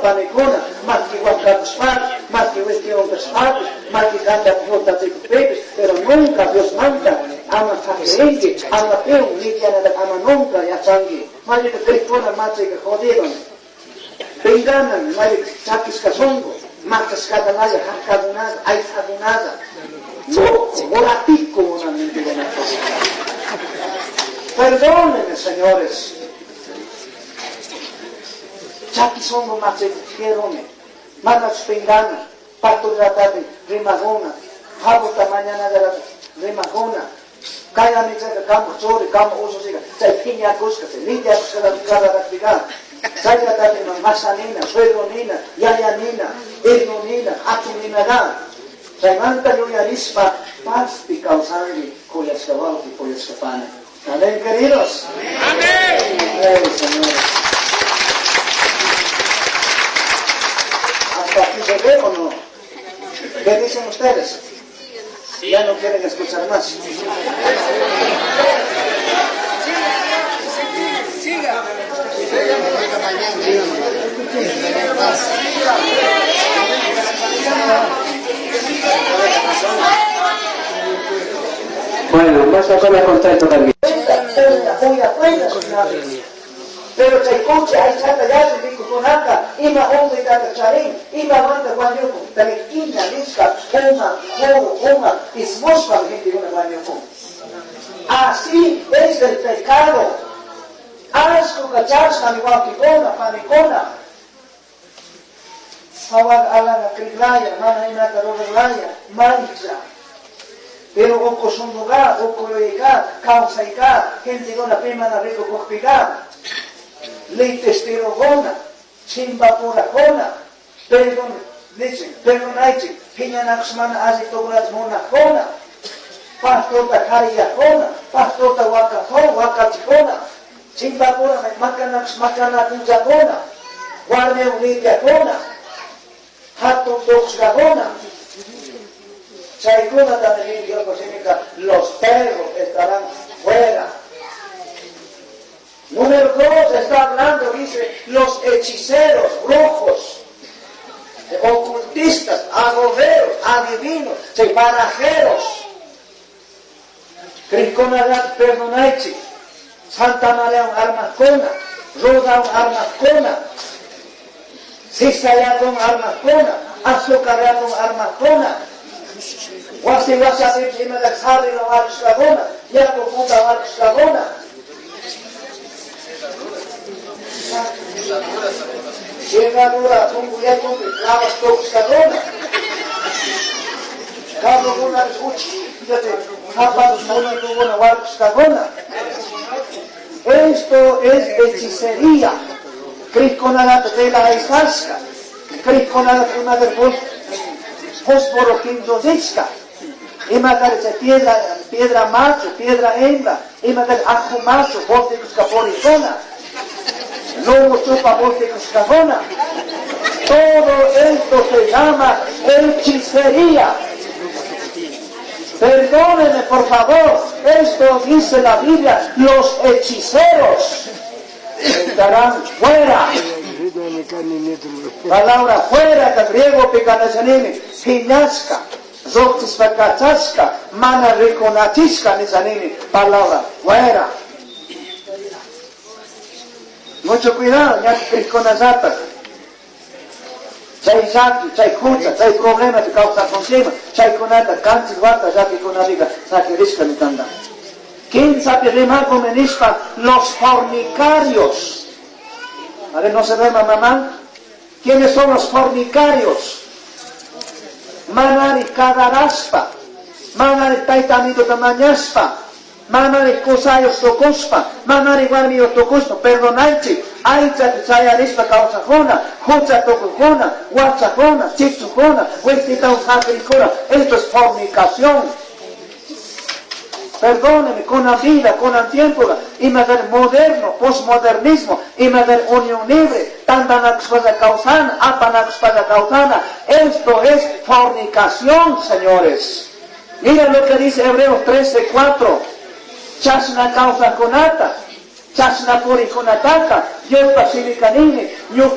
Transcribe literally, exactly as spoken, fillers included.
panikuna, maki huancacushpapish, maki wistiwan kashpapish, maki kanta pejutachikukpipish, pero nunca Diosmanta ama saquirinki, ama piwan litianata ama nunca yachanki. Mayka crikuna machayka jodido. Pinganan, mayka chakishka shunku, machashkatanalla, harkakunalla, aysakunalla, loco, boratico, una mentira. Perdónenme, señores. Chaki songo machaykujerome, manas pingana, pastorlatati rimajuna, jabuta mañana rimajuna, kaya michaka kamo churi, kamo ususiga, chay piñakushka, chay lidiakushka kararajpiga, chaylatati masanina, suegronina, yayanina, irnunina, atuninaga, chaymanta yuyarispa pazpi kawsanki kuyashka wawqi, kuyashka pana. Amén, queridos. Amén. Amén, señores. ¿Hasta aquí se ve o no? ¿Qué dicen ustedes? Ya no quieren escuchar más. Siga. Bueno, vas a comer contento también. Pero chaykuchi aychata yalli mikukunaka, ima unquytata charin, ima manta wañukun, talikina nishka, uma, juru, uma, ismushpa gentekuna wañukun. Así es el pecado. Asco kachashka mi wawqikuna, panikuna. Sawag alanga kriglaya, mana imata ruraglaya, mancha. Pero ukusunduga, ukuyuyga, kawsayga, gentekuna pimana rikukukpiga, litestirogona, chimbapurajona, perdón, dicen, perdonaichik, piñanakusmana alli tukunata munajona, pastorta kariyajona, pastorta wakajona, wakachijona, chimbapura makanakus makanakunchakuna, warmiwan lidiakuna, hatun tukushkakuna. Chaykuna también Dios significa los perros estarán fuera. Número dos está hablando, dice, los hechiceros, brujos, ocultistas, agoberos, adivinos, barajeros. Criconagat perdonaichi, Santa María armacona, Roda armacona, Sisayatón armacona, Azucaratón armacona, Wasi wasi ima sarri no armacona, Yaku punta armacona. Llegadura, punguya, clavas toxicadona. Carro una uchi, fíjate, zapatos una una warxcadona. Esto es hechicería. Criconada de la isasca. Criconada una del fósforo quinzosisca. Ima piedra, piedra macho, piedra hembra, ima ajo macho, bote caporizona. Lobo chupa bote cagona. Todo esto se llama hechicería. Perdónenme, por favor, esto dice la Biblia, los hechiceros estarán fuera. Palabra fuera, que griego picanachanini, piñasca, roxispacachaska, mana riconachisca, nisanini, palabra fuera. Mucho cuidado, ya que criconazata. Chay llaki, chay hucha, chay problema te causa consigo, chay kunata, kanchis wata, llaki kunapica, saquirishka mitanda. Quince rimaco menishpa, los fornicarios. A ver, no se duerma mamá. ¿Quiénes son los fornicarios? Manari kadaraspa, manari taitamito tamañaspa, manari kusayos tokuspa, manari warmiyo tokuspa, perdonaichi, aycha chayarispa kawsajuna, hucha tukujuna, wachajuna, chichujuna, huistita usakrikuna. Esto es fornicación. Perdóneme, con la vida, con el tiempo, ima del moderno, posmodernismo, ima del unión libre, tantanakuspada causana, apanakuspada causana. Esto es fornicación, señores. Miren lo que dice Hebreos trece, cuatro. Chasna causa conata, chasna puri conataka, Diospa simikanini, ñuka